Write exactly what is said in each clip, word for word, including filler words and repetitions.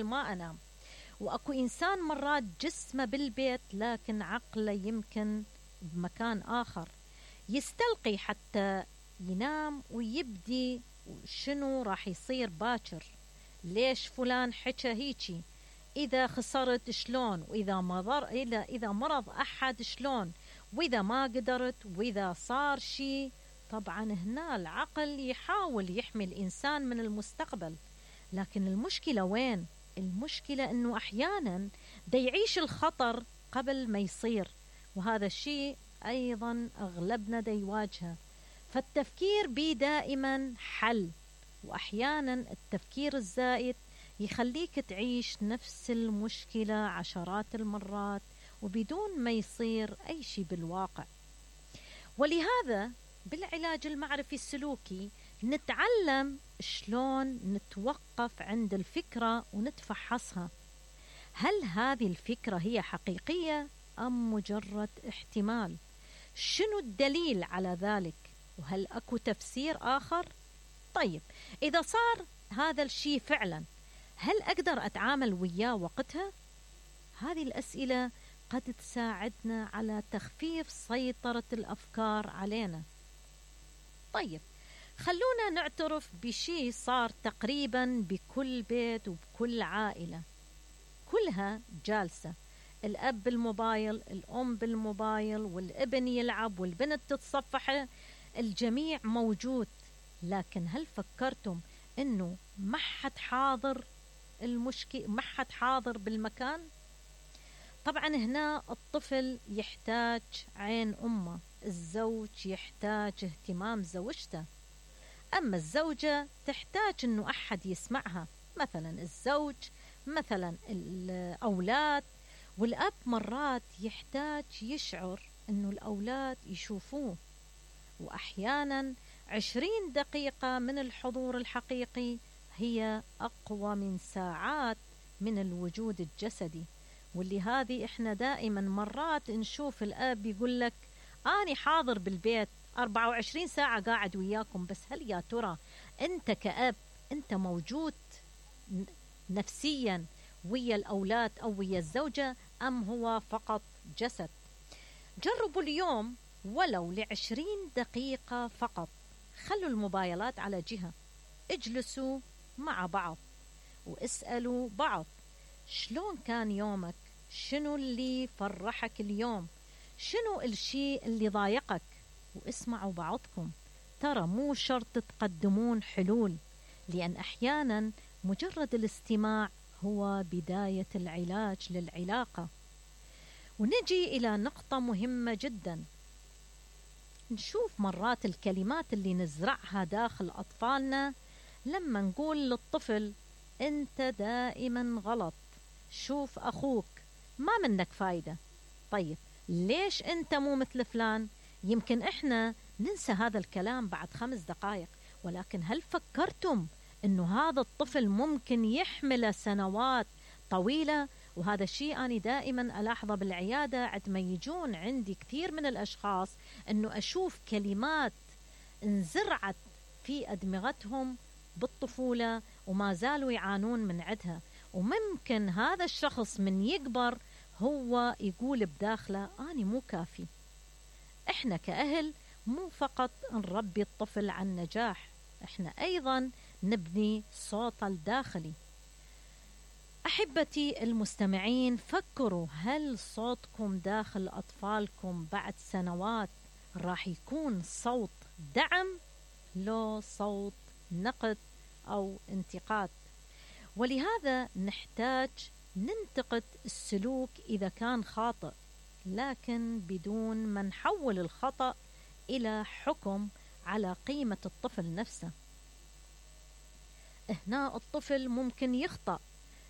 ما أنام. وأكو إنسان مرات جسمه بالبيت لكن عقله يمكن بمكان آخر، يستلقي حتى ينام ويبدي شنو راح يصير باكر، ليش فلان حكى هيجي، إذا خسرت شلون، وإذا مضر إذا إذا مرض أحد شلون، وإذا ما قدرت، وإذا صار شي. طبعا هنا العقل يحاول يحمي الإنسان من المستقبل، لكن المشكلة وين؟ المشكلة أنه أحيانا دا يعيش الخطر قبل ما يصير، وهذا الشيء أيضا أغلبنا دا يواجهه. فالتفكير بيه دائما حل، وأحيانا التفكير الزائد يخليك تعيش نفس المشكلة عشرات المرات وبدون ما يصير أي شيء بالواقع. ولهذا بالعلاج المعرفي السلوكي نتعلم شلون نتوقف عند الفكرة ونتفحصها، هل هذه الفكرة هي حقيقية أم مجرد احتمال؟ شنو الدليل على ذلك؟ وهل أكو تفسير آخر؟ طيب إذا صار هذا الشيء فعلا، هل أقدر أتعامل وياه وقتها؟ هذه الأسئلة قد تساعدنا على تخفيف سيطرة الأفكار علينا. طيب خلونا نعترف بشيء صار تقريبا بكل بيت وبكل عائلة، كلها جالسة، الأب بالموبايل، الأم بالموبايل، والابن يلعب، والبنت تتصفح، الجميع موجود. لكن هل فكرتم أنه ما حد حاضر المشكلة، ما حد حاضر بالمكان؟ طبعا هنا الطفل يحتاج عين أمه، الزوج يحتاج اهتمام زوجته، أما الزوجة تحتاج أنه أحد يسمعها، مثلا الزوج، مثلا الأولاد، والأب مرات يحتاج يشعر أنه الأولاد يشوفوه. وأحيانا عشرين دقيقة من الحضور الحقيقي هي أقوى من ساعات من الوجود الجسدي. واللي هذه إحنا دائما مرات نشوف الأب يقول لك أنا حاضر بالبيت أربعة وعشرين ساعة قاعد وياكم، بس هل يا ترى أنت كأب أنت موجود نفسيا ويا الأولاد أو ويا الزوجة، أم هو فقط جسد؟ جربوا اليوم ولو لعشرين دقيقة فقط، خلوا الموبايلات على جهة، اجلسوا مع بعض واسألوا بعض شلون كان يومك، شنو اللي فرحك اليوم، شنو الشيء اللي ضايقك، واسمعوا بعضكم. ترى مو شرط تقدمون حلول، لأن أحيانا مجرد الاستماع هو بداية العلاج للعلاقة. ونجي إلى نقطة مهمة جدا، نشوف مرات الكلمات اللي نزرعها داخل أطفالنا لما نقول للطفل أنت دائما غلط، شوف أخوك ما منك فايدة. طيب ليش أنت مو مثل فلان؟ يمكن إحنا ننسى هذا الكلام بعد خمس دقائق، ولكن هل فكرتم أنه هذا الطفل ممكن يحمل سنوات طويلة؟ وهذا الشيء أنا دائما ألاحظه بالعيادة عندما يجون عندي كثير من الأشخاص، أنه أشوف كلمات انزرعت في أدمغتهم بالطفولة وما زالوا يعانون من عدها. وممكن هذا الشخص من يكبر هو يقول بداخله أنا مو كافي. إحنا كأهل مو فقط نربي الطفل عن نجاح، إحنا أيضا نبني صوت الداخلي. أحبتي المستمعين، فكروا هل صوتكم داخل أطفالكم بعد سنوات راح يكون صوت دعم لو صوت نقد أو انتقاد؟ ولهذا نحتاج ننتقد السلوك إذا كان خاطئ، لكن بدون ما نحول الخطأ إلى حكم على قيمة الطفل نفسه. هنا الطفل ممكن يخطأ،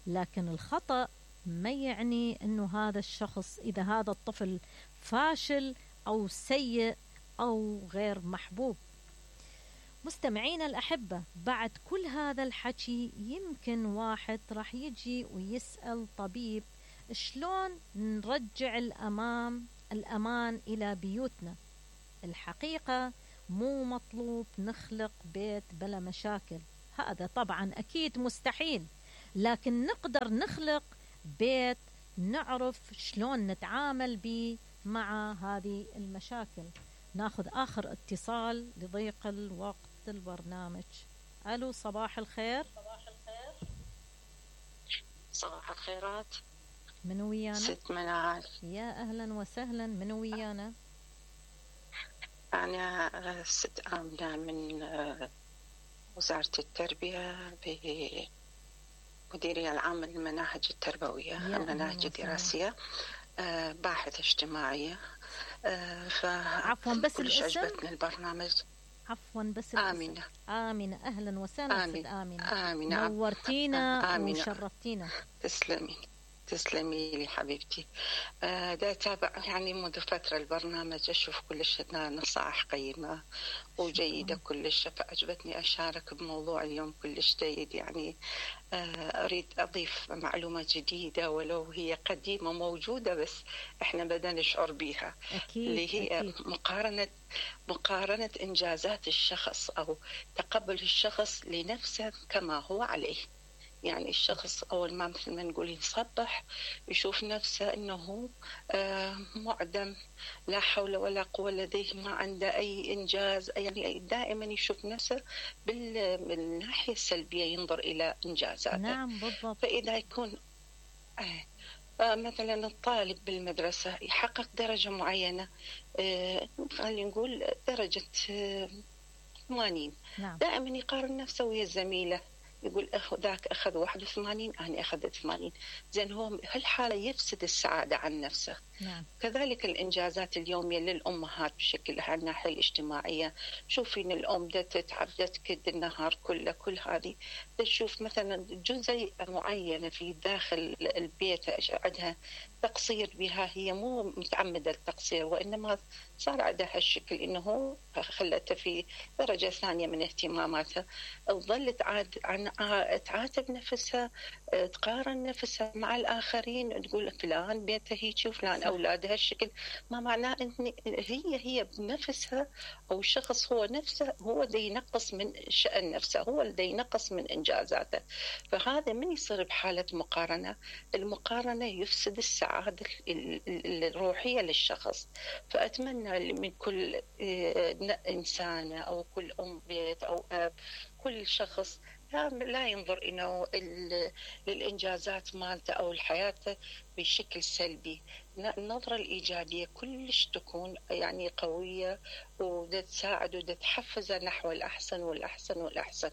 لكن الخطأ ما يعني أنه هذا الشخص، إذا هذا الطفل فاشل أو سيء أو غير محبوب. مستمعين الأحبة، بعد كل هذا الحكي يمكن واحد راح يجي ويسأل طبيب شلون نرجع الأمام الأمان إلى بيوتنا. الحقيقة مو مطلوب نخلق بيت بلا مشاكل، هذا طبعا أكيد مستحيل، لكن نقدر نخلق بيت نعرف شلون نتعامل به مع هذه المشاكل. ناخذ آخر اتصال لضيق الوقت البرنامج. ألو، صباح الخير. صباح الخيرات. من ويانا؟ ست منال. يا أهلا وسهلا، من ويانا؟ أنا ست آمنة من وزارة التربية بمديرية العامة للمناهج التربوية، المناهج الدراسية، باحثة اجتماعية. عفوا بس كلش الاسم. عجبتني البرنامج. عفوا بس آمنة. آمنة، أهلا وسهلا. آمنة. ست آمنة. آمنة. نورتينا آمنة. وشرفتينا. تسلمي تسلمي لي حبيبتي. آه دا تابع يعني منذ فترة البرنامج، أشوف كلش نصائح قيمة وجيدة كلش، فأعجبتني أشارك بموضوع اليوم كلش جيد. يعني آه أريد أضيف معلومة جديدة ولو هي قديمة موجودة بس إحنا بدنا نشعر بها. أكيد. اللي هي أكيد. مقارنة مقارنة إنجازات الشخص أو تقبل الشخص لنفسه كما هو عليه. يعني الشخص أول ما مثل ما نقول يصبح يشوف نفسه أنه معدم، لا حول ولا قوة لديه، ما عنده أي إنجاز، يعني دائما يشوف نفسه بالناحية السلبية، ينظر إلى إنجازاته. نعم بالضبط. فإذا يكون مثلا الطالب بالمدرسة يحقق درجة معينة، خلينا نقول درجة ثمانين، نعم. دائما يقارن نفسه ويا زميله، يقول ذاك أخذ واحد وثمانين أنا أخذت ثمانين. زين هو هالحالة يفسد السعادة عن نفسه. نعم. كذلك الإنجازات اليومية للأمهات بشكل على الناحية الاجتماعية، شوفين الأم دا تتعب دا تكد النهار كله، كل هذه تشوف مثلا جزء معينة في داخل البيت عندها تقصير بها، هي مو متعمدة التقصير وإنما صار عندها هالشكل إنه خلتها في درجة ثانية من اهتماماتها، وظلت عاد عن تعاتب نفسها، تقارن نفسها مع الآخرين، تقول فلان بيته هيك وفلان أولادها هالشكل. ما معناه إن هي هي بنفسها أو الشخص هو نفسه هو اللي ينقص من شأن نفسه، هو اللي ينقص من إنجازاته. فهذا من يصير بحالة مقارنة، المقارنة يفسد السعادة الروحية للشخص. فأتمنى من كل إنسانة أو كل أم بيت أو أب، كل شخص لا ينظر إنه للإنجازات مالته أو الحياة بشكل سلبي. النظرة الإيجابية كلش تكون يعني قوية وتساعد وتحفز نحو الأحسن والأحسن والأحسن.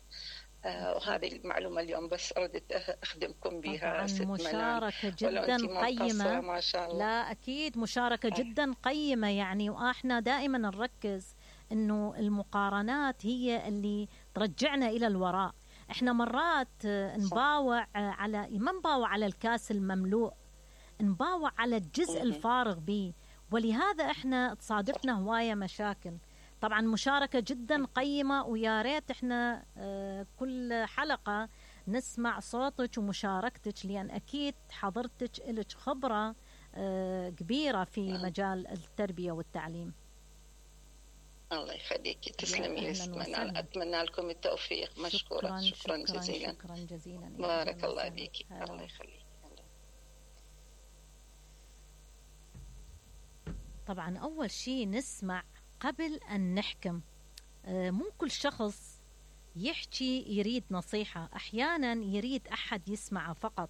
آه وهذه المعلومة اليوم بس أردت أخدمكم بها. مشاركة جدا قيمة. ما شاء الله. لا أكيد مشاركة جدا قيمة يعني، وإحنا دائما نركز إنه المقارنات هي اللي ترجعنا إلى الوراء. إحنا مرات نباوع على ما نباوع على الكاس المملوء، نباوع على الجزء الفارغ به، ولهذا إحنا تصادفنا هواية مشاكل. طبعا مشاركة جدا قيمة، ويا ريت إحنا كل حلقة نسمع صوتك ومشاركتك، لأن أكيد حضرتك لك خبرة كبيرة في مجال التربية والتعليم. الله يخليك، تسلمي. أتمنى لكم التوفيق. مشكورة. شكرا, شكرا, شكرا جزيلا. شكرا جزيلا. بارك الله فيك. الله يخليك. طبعا أول شيء نسمع قبل أن نحكم. مو كل شخص يحكي يريد نصيحة، أحيانا يريد أحد يسمعه فقط.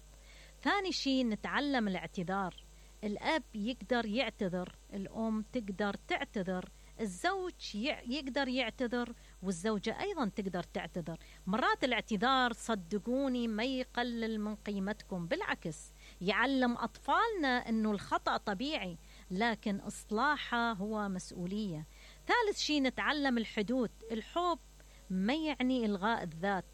ثاني شيء نتعلم الاعتذار. الأب يقدر يعتذر، الأم تقدر تعتذر، الزوج يقدر يعتذر، والزوجة أيضا تقدر تعتذر. مرات الاعتذار صدقوني ما يقلل من قيمتكم، بالعكس يعلم أطفالنا أنه الخطأ طبيعي، لكن إصلاحه هو مسؤولية. ثالث شيء نتعلم الحدود. الحب ما يعني إلغاء الذات.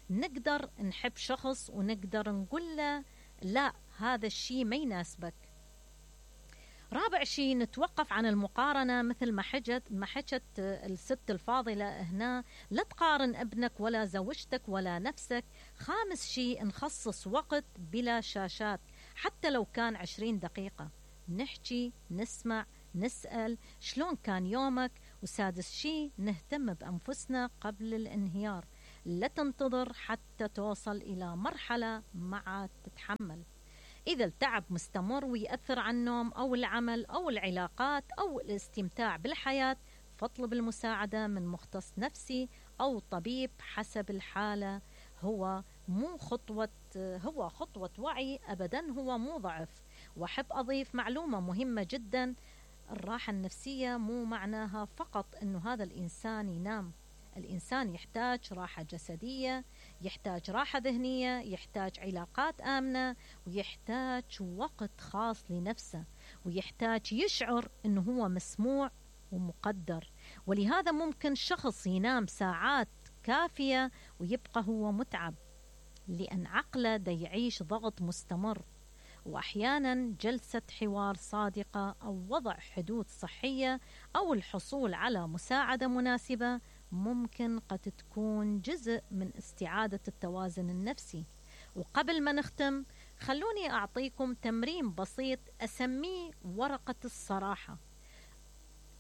نقدر نحب شخص ونقدر نقول له لا، هذا الشيء ما يناسبك. رابع شيء نتوقف عن المقارنة، مثل ما حكت ما حكت الست الفاضلة هنا، لا تقارن ابنك ولا زوجتك ولا نفسك. خامس شيء نخصص وقت بلا شاشات، حتى لو كان عشرين دقيقة، نحكي نسمع نسأل شلون كان يومك. وسادس شيء نهتم بأنفسنا قبل الانهيار. لا تنتظر حتى توصل إلى مرحلة ما عاد تتحمل. إذا التعب مستمر ويأثر على النوم أو العمل أو العلاقات أو الاستمتاع بالحياة، فاطلب المساعدة من مختص نفسي أو طبيب حسب الحالة. هو مو خطوة هو خطوة وعي أبدا، هو مو ضعف. وأحب أضيف معلومة مهمة جدا: الراحة النفسية مو معناها فقط أنه هذا الإنسان ينام. الإنسان يحتاج راحة جسدية، يحتاج راحة ذهنية، يحتاج علاقات آمنة، ويحتاج وقت خاص لنفسه، ويحتاج يشعر أنه هو مسموع ومقدر. ولهذا ممكن شخص ينام ساعات كافية ويبقى هو متعب، لأن عقله دا يعيش ضغط مستمر. وأحيانا جلسة حوار صادقة أو وضع حدود صحية أو الحصول على مساعدة مناسبة ممكن قد تكون جزء من استعادة التوازن النفسي. وقبل ما نختم، خلوني أعطيكم تمرين بسيط أسميه ورقة الصراحة.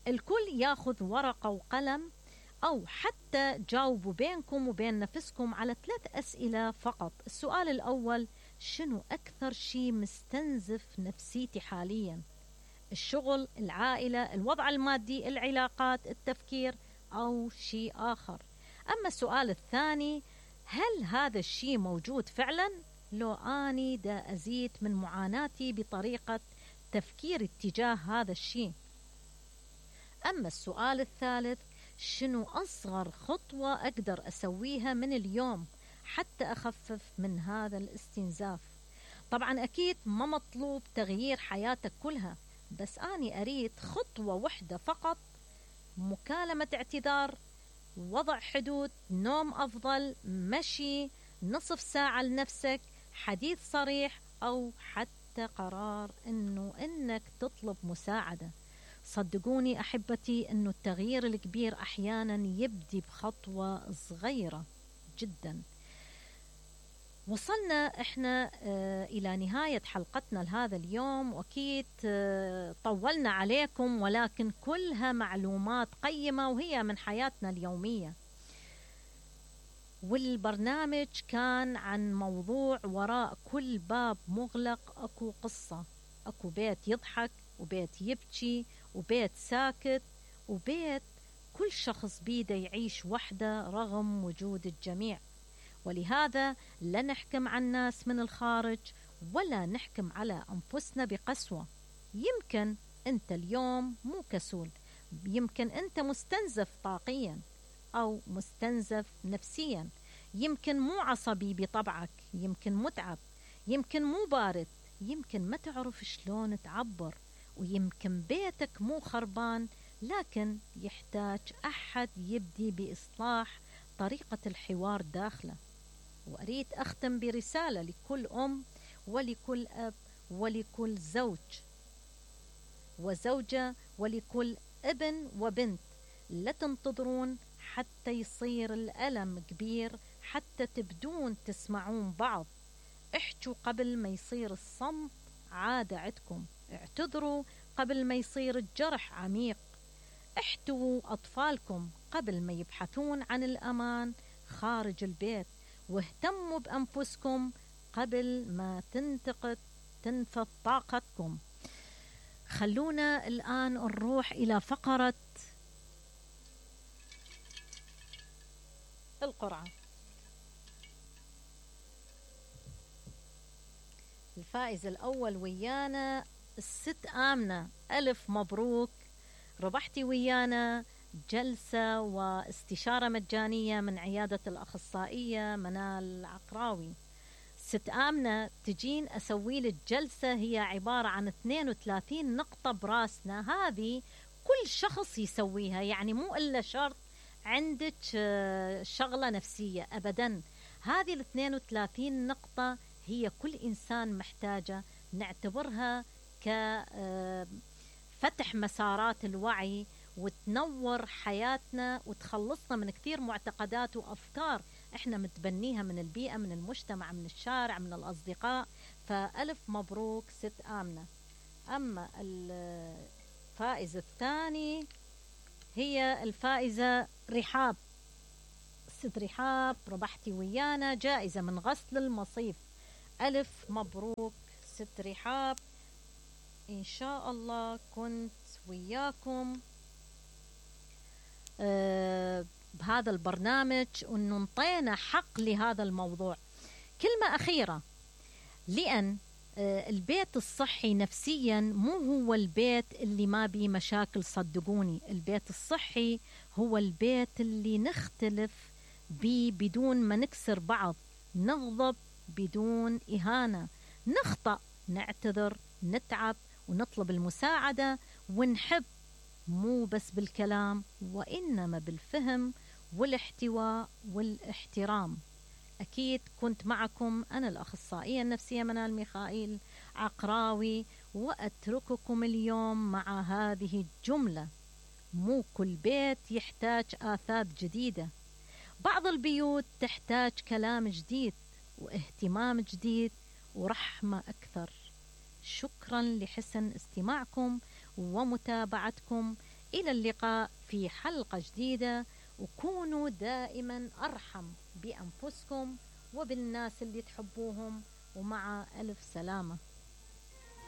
الكل ياخذ ورقة وقلم، أو حتى جاوبوا بينكم وبين نفسكم على ثلاث أسئلة فقط. السؤال الأول: شنو أكثر شيء مستنزف نفسيتي حاليا؟ الشغل، العائلة، الوضع المادي، العلاقات، التفكير، أو شيء آخر؟ أما السؤال الثاني: هل هذا الشيء موجود فعلا؟ لو أني دا أزيد من معاناتي بطريقة تفكير اتجاه هذا الشيء. أما السؤال الثالث: شنو أصغر خطوة أقدر أسويها من اليوم حتى أخفف من هذا الاستنزاف؟ طبعا أكيد ما مطلوب تغيير حياتك كلها، بس أنا أريد خطوة واحدة فقط: مكالمة اعتذار، وضع حدود، نوم أفضل، مشي، نصف ساعة لنفسك، حديث صريح، أو حتى قرار إنه إنك تطلب مساعدة. صدقوني أحبتي إنه التغيير الكبير أحيانا يبدي بخطوة صغيرة جدا. وصلنا إحنا آه إلى نهاية حلقتنا لهذا اليوم، وأكيد آه طولنا عليكم، ولكن كلها معلومات قيمة وهي من حياتنا اليومية. والبرنامج كان عن موضوع وراء كل باب مغلق أكو قصة، أكو بيت يضحك وبيت يبكي وبيت ساكت وبيت كل شخص بيده يعيش وحده رغم وجود الجميع. ولهذا لا نحكم على الناس من الخارج ولا نحكم على أنفسنا بقسوة. يمكن أنت اليوم مو كسول، يمكن أنت مستنزف طاقيا أو مستنزف نفسيا، يمكن مو عصبي بطبعك، يمكن متعب، يمكن مو بارد، يمكن ما تعرف شلون تعبر، ويمكن بيتك مو خربان، لكن يحتاج أحد يبدي بإصلاح طريقة الحوار داخله. وأريد أختم برسالة لكل أم ولكل أب ولكل زوج وزوجة ولكل ابن وبنت: لا تنتظرون حتى يصير الألم كبير حتى تبدون تسمعون بعض. احجوا قبل ما يصير الصمت عادة عندكم، اعتذروا قبل ما يصير الجرح عميق، احتووا أطفالكم قبل ما يبحثون عن الأمان خارج البيت، واهتموا بأنفسكم قبل ما تنتقد تنفذ طاقتكم. خلونا الآن نروح إلى فقرة القرعة. الفائز الأول ويانا الست آمنة، ألف مبروك، ربحتي ويانا جلسة واستشارة مجانية من عيادة الأخصائية منال العقراوي. ست آمنة تجين أسوي لك جلسة هي عبارة عن اثنين وثلاثين نقطة براسنا، هذه كل شخص يسويها، يعني مو إلا شرط عندك شغلة نفسية أبدا. هذه ال اثنين وثلاثين نقطة هي كل إنسان محتاجة، نعتبرها كفتح مسارات الوعي وتنور حياتنا وتخلصنا من كثير معتقدات وأفكار إحنا متبنيها من البيئة، من المجتمع، من الشارع، من الأصدقاء. فألف مبروك ست آمنة. أما الفائزة الثاني هي الفائزة رحاب، ست رحاب، ربحتي ويانا جائزة من غسل المصيف. ألف مبروك ست رحاب، إن شاء الله كنت وياكم آه بهذا البرنامج وأنه انطينا حق لهذا الموضوع. كلمة أخيرة، لأن آه البيت الصحي نفسيا مو هو البيت اللي ما بيه مشاكل، صدقوني البيت الصحي هو البيت اللي نختلف بيه بدون ما نكسر بعض، نغضب بدون إهانة، نخطأ نعتذر، نتعب ونطلب المساعدة، ونحب مو بس بالكلام وإنما بالفهم والاحتواء والاحترام. أكيد كنت معكم أنا الأخصائية النفسية منال ميخائيل عقراوي، وأترككم اليوم مع هذه الجملة: مو كل بيت يحتاج آثاث جديدة، بعض البيوت تحتاج كلام جديد واهتمام جديد ورحمة أكثر. شكرا لحسن استماعكم ومتابعتكم، إلى اللقاء في حلقة جديدة، وكونوا دائما أرحم بأنفسكم وبالناس اللي تحبوهم، ومع ألف سلامة.